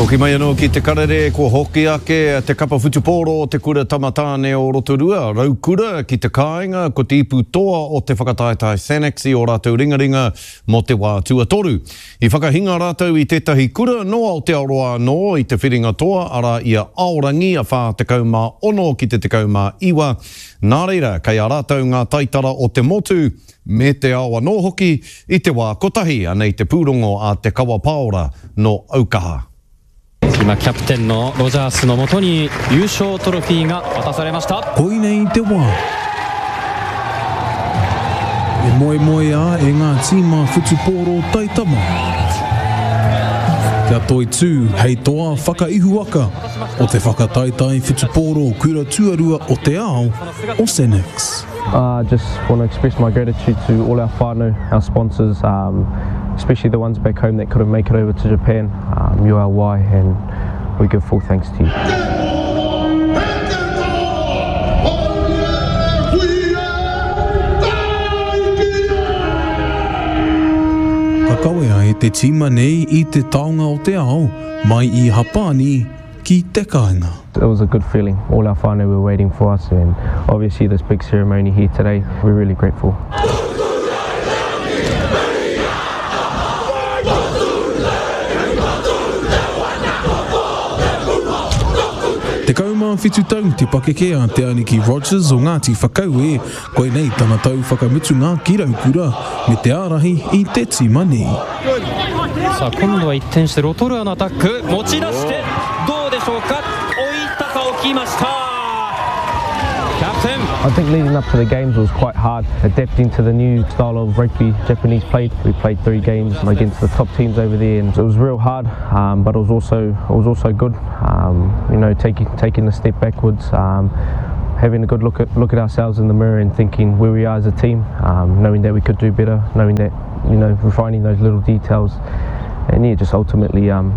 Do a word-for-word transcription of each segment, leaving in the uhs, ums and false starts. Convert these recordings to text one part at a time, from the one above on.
Hoki mai anō ki te karere, kua hoki ake te kapa whutupōro o te kura tamatāne o Rotorua, Raukura ki te kāinga, ko te ipu toa o te whakataetae Sanix i o rātou ringaringa mō te wā tuatoru. I whakahinga rātou i tētahi kura no Aotearoa anō i te whiringa toa, arā i a Aorangi a whā tekau mā ono ki te tekau mā iwa. Nā reira, kei a rātou ngā taitara o te motu, me te ao anō hoki i te wā kotahi, anei te pūrongo a Te Kawa Paora no Aukaha. 今キャプテンのロジャースのもとに優勝トロフィーが渡されました。 Koinei te wā e moemoeā e ngā tīma whutupōro taitama kia toitū hei toa whakaihuwaka o te whakataetae whutupōro kura tuarua o te ao o Sanix. I uh, just want to express my gratitude to all our whānau, our sponsors, um, especially the ones back home that couldn't make it over to Japan. Um, you are why, and we give full thanks to you. Ka kawea e te tīma nei i te taonga o te ao mai i Hapani ki te kāinga. It was a good feeling. All our whānau were waiting for us, and obviously this big ceremony here today, we're really grateful. Tekau mā whitu tau te pakeke a Te Aniki Rogers o Ngāti Whakaue, koinei tana tau whakamutunga ki Raukura me te ārahi i te tīma nei. さあ今度は一転してロトルアのアタック持ち出してどうでしょうか置いたか置きましたキャプテン I think leading up to the games was quite hard, adapting to the new style of rugby Japanese played. We played three games against the top teams over there, and it was real hard, um, but it was also it was also good. Um, you know, taking taking a step backwards, um, having a good look at look at ourselves in the mirror and thinking where we are as a team, um, knowing that we could do better, knowing that you know refining those little details, and yeah, just ultimately um,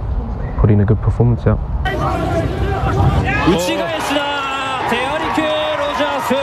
putting a good performance out. 打ち返しだテアリケロジャース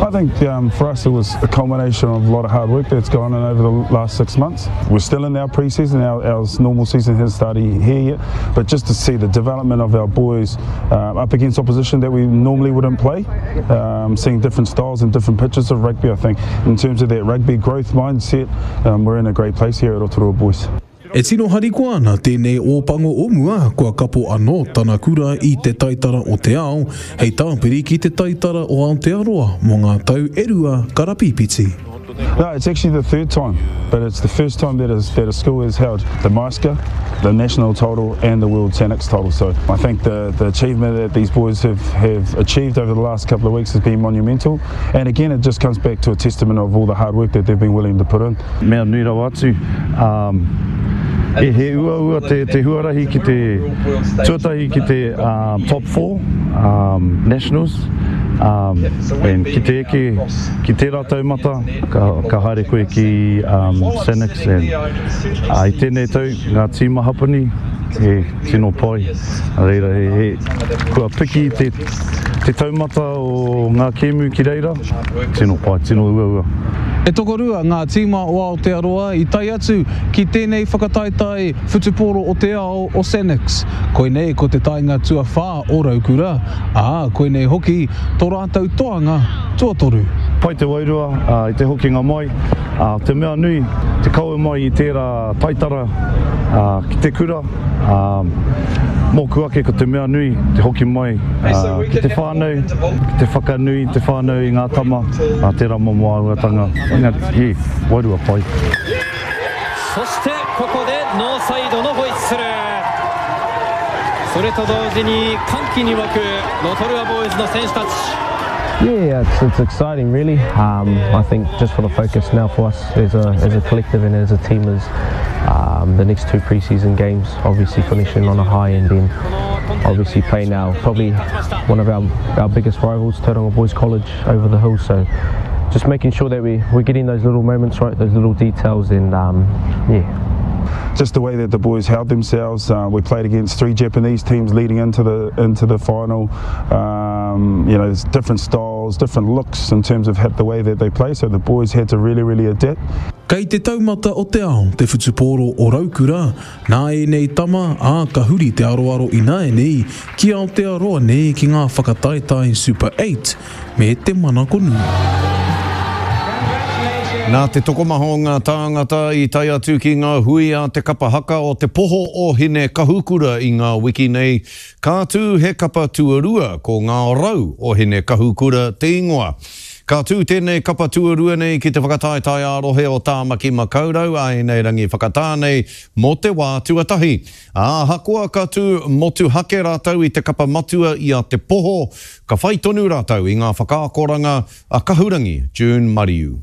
I think um, for us it was a culmination of a lot of hard work that's gone in over the last six months. We're still in our pre-season, our, our normal season hasn't started here yet, but just to see the development of our boys uh, up against opposition that we normally wouldn't play, um, seeing different styles and different pitches of rugby, I think in terms of that rugby growth mindset, um, we're in a great place here at Rotorua Boys. E tino harikoa ana tēnei ōpango o mua kua kapo anō tana kura i te taitara o te ao, hei tāpiri ki te taitara o Aotearoa mō ngā tau e rua karapīpiti. No, it's actually the third time, but it's the first time that a, that a school has held the MISCA, the national title and the World Sanix title. So I think the, the achievement that these boys have, have achieved over the last couple of weeks has been monumental. And again, it just comes back to a testament of all the hard work that they've been willing to put in. Mea nui rawa atu, um, e he uaua te, te huarahi ki te tuatahi ki te um, top four um, nationals um, and ki te eke ki tērā taumata ka, ka haere koe ki um, Sanix and uh, i tēnei tau ngā tīma Hapani he tino pai a reira he, he, kua piki te, te taumata o ngā kēmu ki reira tino pai, tino uaua. E tokorua ngā tīma o Aotearoa i tae atu ki tēnei whakataetae whutupōro o te ao o Sanix. Koinei ko te taenga tuawhā o Raukura, ā, koinei hoki tō rātou toanga tuatoru. Pai te wairua uh, i te hokinga mai, uh, te mea nui, te kawe mai i tērā taitara uh, ki te kura, um, mōku ake ko te mea nui, te hoki mai uh, ki te whānau, ki te whakanui te whānau i ngā tama, uh, tērā momo āhuatanga. Engari, he, wairua pai. そしてここでノーサイドのホイッスルそれと同時に歓喜に沸くロトルアボーイズの選手たち Yeah, it's, it's exciting really. Um, I think just for the focus now for us as a, as a collective and as a team is um, the next two pre-season games, obviously finishing on a high and then obviously playing our probably one of our, our biggest rivals, Tauranga Boys College, over the hill. So just making sure that we, we're getting those little moments right, those little details and um, yeah, Just the way that the boys held themselves. Uh, we played against three Japanese teams leading into the into the final. Um, you know, there's different styles, different looks in terms of the way that they play. So the boys had to really, really adapt. Kei te taumata o te ao, te whutupōro o Raukura, nā ēnei tama, ā, ka huri te aroaro ināianei ki Aotearoa nei ki ngā whakataetae Super Eight me te manako nui. Nā te tokomaha o ngā tāngata i tae atu ki ngā hui a te kapa haka o Te Poho o Hine Kahukura i ngā wiki nei, ka tū he kapa tuarua, ko Ngā Rau o Hine Kahukura te ingoa. Ka tū tēnei kapa tuarua nei ki te whakataetae ā-rohe o Tāmaki Makaurau a ēnei rangi whakatā nei mō te wā tuatahi. Ā, ahakoa ka tū motuhake rātou i te kapa matua i a Te Poho, ka whai tonu rātou i ngā whakaakoranga a Kahurangi June Mariu.